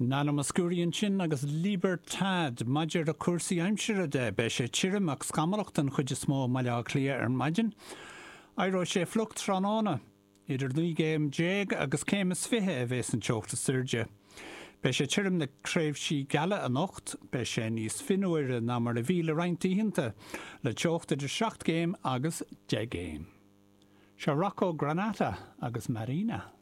Nana Mouskouri ansin agus Libertad. Maidir le cúrsaí aimsire de, beidh sé tirim ach scamallach den chuid is mó i mBaile Átha Cliath ar maidin. Éireoidh sé fliuch tráthnóna. Idir 19 gcéim agus céim is 20 a bheas an teocht is airde. Beidh sé tirim le tréimhsí geala anocht. Beidh sé níos fionnuaire ná mar a bhí le roinnt oícheanta, le teocht idir 7 gcéim agus 10 gcéim. Seo Rocco Granata agus Marina.